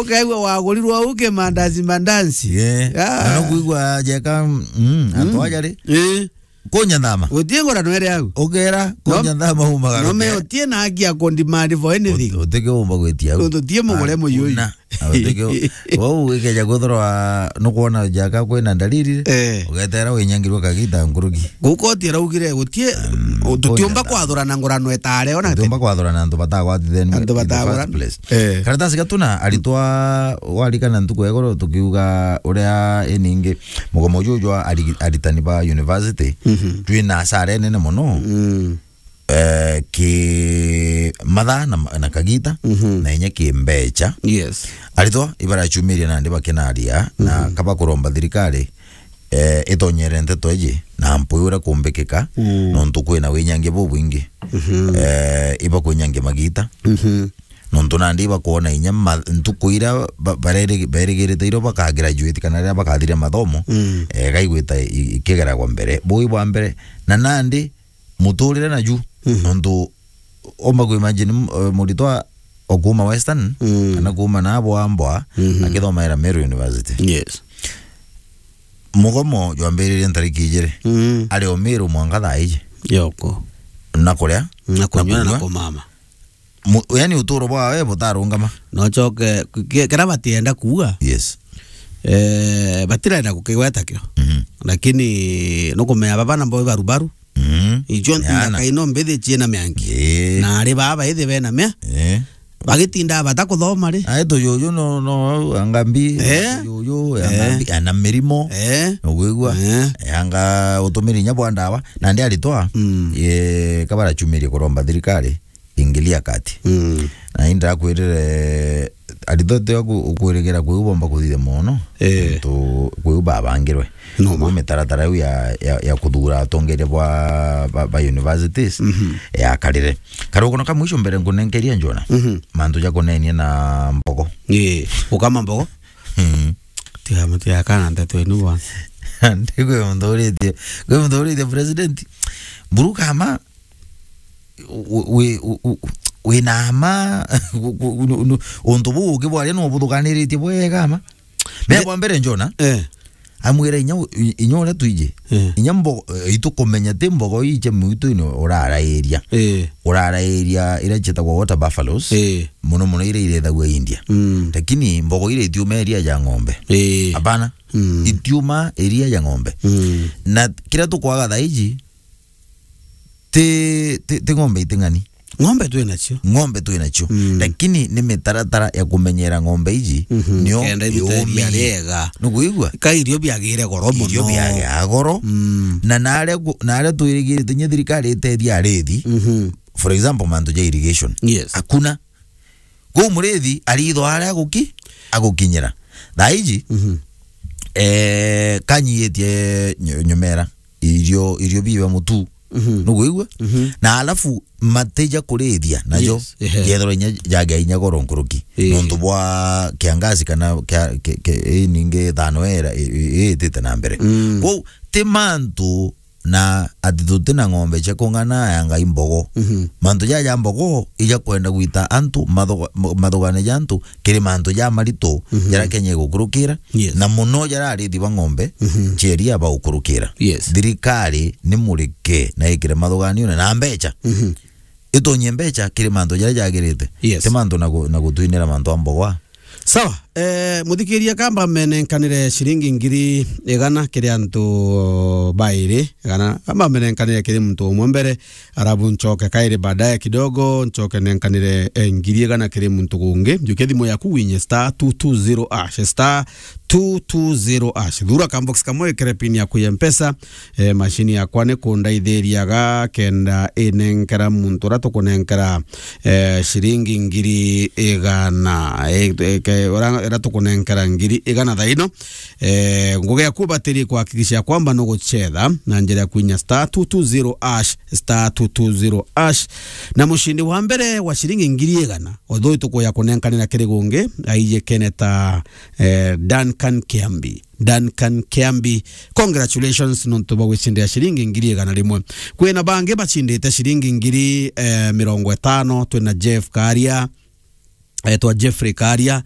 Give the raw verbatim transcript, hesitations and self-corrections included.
Ukaigua wagurirwo au kimandazi mandazi. Yeah. Ah. Na no kwigua jeka, mm, antu aja ri. Eh. Kunyanthama. Gutie ngurano iri au. Ukera, no, kunyanthama umaga no me rukere. Utie na haki ya kundimandi for anything. Ut-, utike umba gwitia au. Tutie mugure muyu uyu. Hakuna. Na utike u-, wau ikeja kwithirwa nukwona jaka kwina ndariri ri, eh, ugetera winyangirwe kagita nkuruki. Guku utie raugire gutie, um, tutiumba kunyanthama. Kwathurana ngurano etare ona. Tutiumba kwathurana antu batagwatitheni in the first place. Antu batagwatitheni. Eh. Karatasi gatuna aritwa warikana ntuku ya igoro tukiuga uria iningi mugomo juju jwa ari-, aritani ba university, mhm, twina asara nene muno. Mm. Eh, ki mathaa na, na kagita, mhm, na inya ki mbecha. Yes. Aritwa ibarachumiria nandi bakinaria, na, mhm, kaba kuromba thirikari, eh, itonyere nteto iji na mpwi uria kumbikika, mm, nontu kwina winyangia bubwingi. Mhm. Eh, ibakwinyangia magita. Mhm. Nontu nandi ibakwona inya ma-, ntuku iria ba-, bareri-, berigirite irio bakagraduate kana riria bakathiria mathomo, mm, eh, gaigwita i-, ikigeragwa mbere. Bui bwa mbere, na nandi muturire naju, mhm, nontu umba ku imagine m-, eh, muritwa okuma Western, mm, kana kuma na bwa mbwa, mhm, akithomaira Meru University. Yes. Mugomo jwambiririe ntariki ijiri. Mm. Ari o Meru mwanka thaa iji. Yoko. Na kuria, na kunywa, na kunywa. Kumama. Mu-, yani uturo bwawe butarungama. No choke, ki-, kira batienda kuuga. Yes. Eh, batirenda gukigweta kio. Mhm. Lakini nukumenya baba na mbo ibarubaru. Mhm. Icio nthaka ino mbithi ciina miangi. Eh. Na ari baba ithi bena mia. Eh. Bagitinda bata kuthoma ri. Ai tujuju no, no, anga mbi, eh? Tujuju, anga mbi, ana mirimo. Eh. Nugwigua? Eh. Anga utumiri nya bwa ndawa. Na ndi aritwa, mm, ye, kabara chumirie kuromba thirikari ingilia kati. Mm. Na inda kwirire aritwa tio ku-, kwirigira kwiu bomba kuthithia mono. Eh. Tu kwiu babangirwe. No ma. Kwiu mitaratara iu ya, ya, ya kuthura atongeria bwa, ba, ba universities, mhm, yakarire. Karugono ka mwisho mbere nkunenkeria Njona. Mhm. Mantu ja kunenia na mbogo. Eh, ukama mbogo? Mhm. Tiga muti akana nteto inu bwana. Ndi kwi muntu uritie, kwi muntu uritie president. Mburu kama wi, wi, wi, wina ma, gu-, gu-, nu-, nu-, untu buu ukibwaria no buthukaniritie bwega ma. Me bwa mbere Njona, eh, amwira inya u-, i-, inya uria twiji. Eh. Inya mbo-, eh, itukumenya ti mbogo ii cia mwituni urarairia. Eh. Urarairia iria cietagwa water buffaloes. Eh. Muno muno iria irethagua India. Mm. Lakini mbogo iria itiuma iria ja ng'ombe. Eh. Hapana. Mm. Itiuma iria ja ng'ombe. Mm. Na kiria tukwaga thaa iji, ti, ti, ti ng'ombe iting'ani. Ng'ombe twi nacio. Ng'ombe twi nacio. Mm. Lakini ni mitaratara ya kumenyera ng'ombe iji, mhm, nio kenda iruta iria riega. Nukwigua? Ka irio biagire goro muno. Irio biagea goro. Mm. Na naria ku-, naria twirigirite nya thirikari itethia arithi. Mhm. For example, mantu ja irrigation. Yes. Hakuna. Kuu murithi aritho aria aguki-, agukinyira. Thaa iji, mhm, eh, kanyiitie nyu-, nyumera, irio, irio biiba mutu. Mhm. Nukwigua? Mhm. Na alafu matija kurithia najo, yes, ehe, yethirwa inya jagea inya goro nkuruki. Eh. Nontu bwa kiangazi kana kia, ki, ki, ii ningi thano era, i, i, iitite na mbere. Mm. Kwou, ti mantu na ati tuti na ng'ombe cia kung'ana ya Ngai mbogo. Mhm. Mantu jaja mbogo ija kwenda gwita antu mathuga-, ma-, mathugane ja antu kiri mantu ja maritu, mhm, jaria Kenya igukurukira, yes, na muno jaria arithi ba ng'ombe, mhm, cia iria bagukurukira. Yes. Thirikari ni murike na ikire mathuganione na mbecha. Mhm. Itonyie mbecha kiri mantu jaria jagirite. Yes. Ti mantu na gu-, na gutwinira mantu a mbogo. Sawa, eh, muthikiria, kamba menenkanire ciringi ngiri igana kiri antu bairi, igana, kamba menenkanire kiri muntu umwe mbere, arabu nchoke kairi baadaye kidogo, nchoke nenkanire, eh, ngiri igana kiri muntu gungi. Njukia thimu yaku winye star two two zero hash, star two two zero hash. Thura kambox kamwe ikere pin yaku ya Mpesa, eh, mashini yakwa ni kundaithiriaga kenda inenkera muntu uria tukunenkera, eh, ciringi ngiri igana. Eh, eh, ke-, uria, uria tukunenkera ngiri igana thaa ino, eh, ngugi yaku batiri kuhakikisha kwamba nugucetha na njira ya kwinya star two two zero hash, star two two zero hash. Na mushindi wa mbere wa ciringi ngiri igana, although tukuya kunenkanira kiri gungi, aije keneta, eh, Duncan Kiambi. Duncan Kiambi, congratulations nontu bwa gwicindira ciringi ngiri igana rimwe. Kwina bangi bacindite ciringi ngiri, eh, mirongo itano, twina Jeff Karia, etwa Jeffrey Karia,